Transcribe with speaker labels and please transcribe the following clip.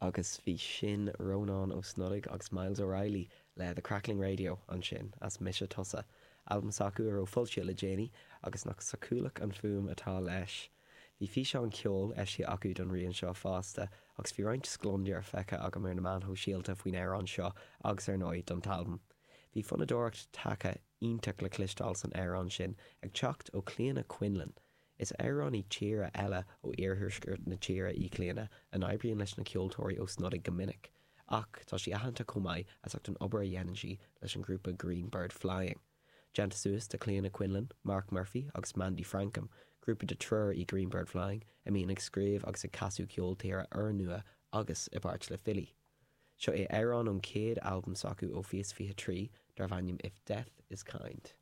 Speaker 1: Agus bhí sin Rónán Ó Snodaigh agus Myles O'Reilly le The Crackling Radio ansin, as Mise Tusa, albam s'acu a raibh foilsithe le déanaí, agus nach sócúlach an fuaim atá leis. Bhí físeán ceoil eisithe acu don rian seo fosta, agus bhí roinnt scleondair feicthe agam ar na meáin shóisialta faoin amhrán seo agus ar ndóigh don t-albam. Bhí fonnadóireacht taca iontach le cloisteáil san amhrán sin, ag teacht ó Clíodhna Quinlan, Is amhránaí tíre eile ó iarthuaisceart na tíre í Clíodhna, a n-oibríonn leis na ceoltóirí Ó Snodaigh go minic. Ach tá sí aitheanta chomh maith as ucht an obair a dhéanann sí leis an ghrúpa Green Bird Flying. Déanta suas de Clíodhna Quinlan, Mark Murphy agus Mandy Frankum, grúpa de triúr í Green Bird Flying a mbíonn ag scríobh agus ag casadh ceol tíre úrnua agus i bpáirt le filí. Seo é amhrán ón chéad albam s'acu ó Fios 23 darbh ainm If Death Is Kind.